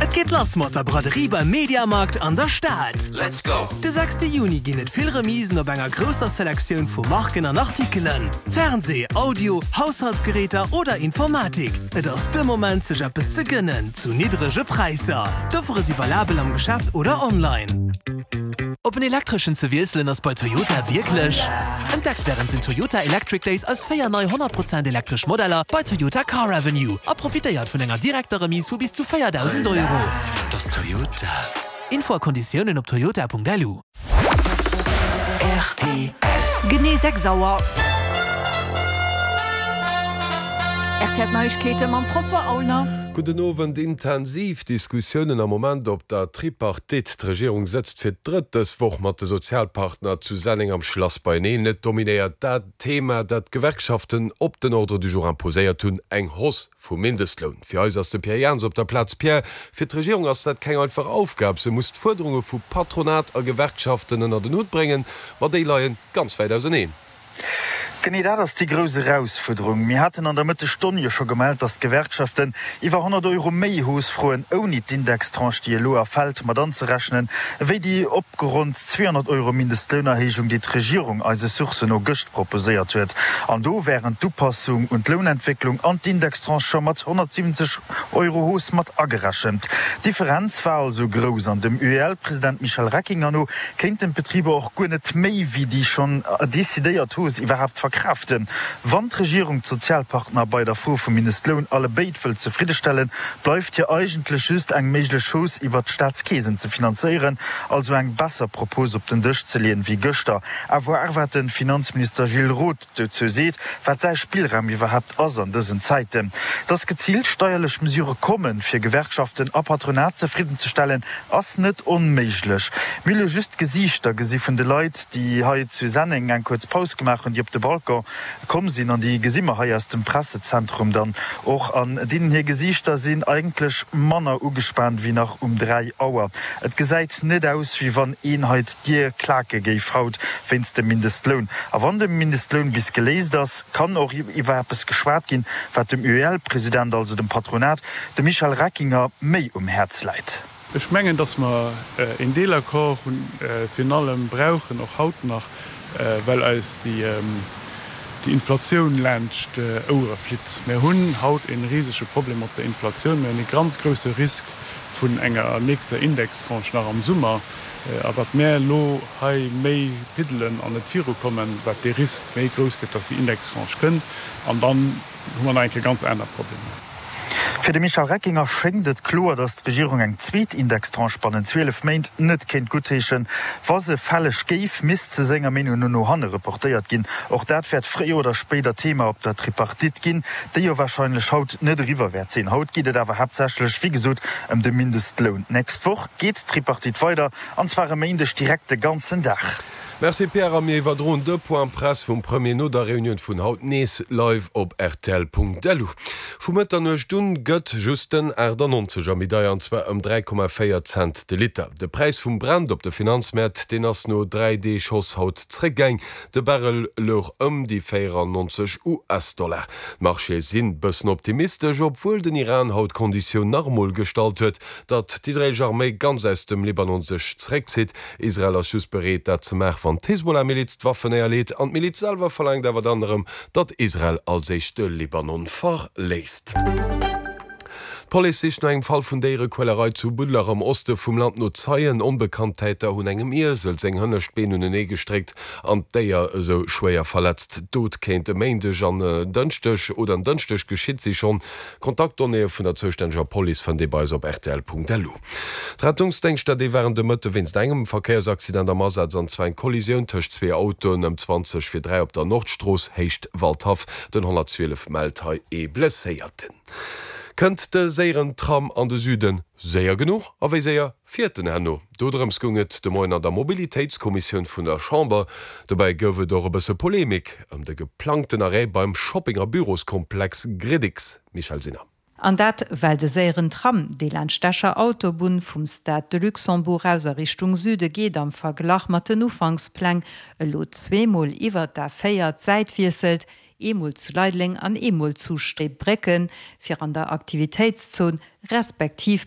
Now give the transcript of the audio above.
Et geet lass mat der Braderie beim Mediamarkt an der Stad. Let's go! De sechste Juni ginn et vill Remisen op enger grousser Selektioun vu Marken an Artikelen. Fernsee, Audio, Haushaltsgeräter oder Informatik, et ass de Moment sech eppes ze gënnen zu niddrege Präisser. D'Offere si valabel am Geschäft oder online. Op en elektreschen ze wiesselen ass bei Toyota wierklech? Entdeckt wärend den Toyota Electric Days eis 4 nei 100 Prozent elektresch Modeller bei Toyota Car Avenue a profitéiert vun enger direkter Remise vu bis zu 4.000 Euro. Dat ass Toyota. Info a Konditiounen op toyota.lu. Rtl. Genee 6 Auer. Rtl Neiegkeete mam François Aulner. Gudden Owend. Intensiv Diskussiounen am Moment op der Tripartite. D'Regierung sëtzt fir d'drëtt dës Woch mat de Sozialpartner zu Senneng am Schlass beieneen. Et dominéiert dat Thema, dat d'Gewerkschaften op den Ordre du jour imposéiert hunn, eng Hausse vum Mindestloun. Fir eis ass de Pierre Jans op der Plaz. Pierre, fir d'Regierung ass dat keng einfach Aufgab. Se muss d'Fuerderunge vu Patronat a Gewerkschaften ënnert en Hutt bréngen, ma déi leie ganz wäit auseneen. Genee dat ass déi grouss Erausfuerderung. Mir haten an der Mëttesstonn jo scho gemellt, datt d'Gewerkschaften iwwer 100 Euro méi Hausse froen, ouni d'Indextranche, déi elo erfält, mat anzerechnen, ewéi déi opgeronnt 200 Euro Mindestlounerhéijung, déi d'Regierung eise Sourcen no gëscht proposéiert huet. An do wären d'Upassung un d'Lounentwécklung an d'Indextranche scho mat 170 Euro Hausse mat agerechent. D'Differenz war also grouss an dem UEL-President Michel Reckinger no kéinten d'Betriber och guer net méi wéi déi schonn decidéiert Hausse iwwerhaapt verkraaften. Wann d'Regierung d'Sozialpartner bei der Fro vum Mindestloun allebéid wëllt zefriddestellen, bleift hir eigentlech just eng méiglech Hausse iwwert d'Staatskeesen ze finanzéieren, also eng besser Propos op den Dësch ze leeën wéi gëschter. À voir wat de Finanzminister Gilles Roth dozou seet, wat säi Spillraum iwwerhaapt ass an dësen Zäiten. Dass geziilt steierlech Mesure kommen, fir Gewerkschaften a Patronat zefriddenzestellen, ass net onméiglech. Mir hu lo just d'Gesiichter gesi vun de Leit, déi hei zu Senneng eng kuerz Paus gemaach hunn, déi op de Balcon komm sinn, an déi gesi mer hei aus dem Pressezentrum dann och. An deenen hir Gesiichter sinn eigentlech manner ugespaant wéi nach um 3 Auer. Et gesäit net aus, wéi wann een hei d'Dier klake géif haut wéinst dem Mindestloun. A wann de Mindestloun bis geléist ass, kann och iwwer eppes geschwat ginn, wat dem UEL-President, also dem Patronat, dem Michel Reckinger, méi um Häerz läit. Ech mengen, datt mer een Deelaccord hunn, virun allem brauchen, och haut nach, well eis déi Inflatioun laanscht d'Ouere flitt. Mir hunn haut e risege Problem mat der Inflatioun. Mir hunn e ganz grouse Risk vun enger nächster Indextranche nach am Summer. A wat mär elo hei méi piddelen an net virukommen, wat dee Risk méi grouss gëtt, dass déi Indextranche kënnt. An dann hu mer nach eng Kéier ganz aner Problemer. Fir de Michel Reckinger schéngt et kloer, datt d'Regierung eng zweet Indextranche bannent 12 Méint net kéint guttheeschen. Wa se fälleg géif, misst se senger Meenung no no hanne reportéiert ginn. Och dat wäert fréier oder spéider Thema op der Tripartite ginn, déi jo warscheinlech haut net eriwwer wäert sinn. Haut geet et awer haaptsächlech, wéi gesot, ëm de Mindestloun. D'nächst Woch geet d'Tripartite weider, an zwar e Méindeg direkt de ganzen Dag. Merci Pierre, a mir iwwerdroen de Point Presse vum Premier no der Reunioun vun haut nees live op rtl.lu. Vu Mëtternuecht un gëtt just den 98er méi deier, an zwar ëm 3,4 Cent de Liter. De Präis vum Brent op de Finanzmäert, deen ass no 3 Deeg Hausse haut zréckgaang. De Barrel louch ëm déi 94 US-Dollar. D'Marchéë sinn bëssen optimistesch, obwuel den Iran haut d'Konditioun nach emol gestallt huet, Datt d'israeelesch Arméi ganz aus dem Libanon sech zeréckzitt. Israel ass just bereet, dat ze maachen, wann d'Hezbollah-Miliz d'Waffen néierleet. An d'Miliz selwer verlaangt awer dann erëm, datt Israel als éischt de Libanon verléisst. D'Police sicht no engem Fall vun Déierequälerei zu Budlach am Oste vum Land no Zeien. Onbekannt Täter hunn engem Iesel seng hënnescht Been unenee gestréckt an d'Déier esou schwéier verletzt. D'Dot kéint e Méindeg an en Dënschdeg oder en Dënschdeg geschitt si schonn. D'Kontaktdonnéeë vun der zoustänneger Police fënnt ee bei eis op rtl.lu. D'Rettungsdéngschter, déi waren de Mëtte wéinst engem Verkéiersaccident am Asaz, an zwar eng Kollisioun tëscht zwee Autoen ëm 20 vir 3 op der Nordstrooss, Héicht Waldhaff. Den 112 mellt hei ee Blesséierten. Kënnt de séieren Tram an de Süden séier genuch a wéi séier fiert en herno? Dodrëms goung et de Moien an der Mobilitéitskommissioun vun der Chamber. Dobäi gouf et och e bësse Polemik ëm de geplangten Arrêt beim Shopping a Büroskomplex Gridix. Michèle Sinner. An dat well de séieren Tram, dee laanscht d'Escher Autobunn vum Stade de Luxembourg aus a Richtung Süde geet, am Verglach mat den Ufankspläng elo zweemol iwwert d'A4 d'Säit wiesselt, eemol zu Leideleng an eemol zu Steebrécken, fir an der Aktivitéitszon respektiv bei.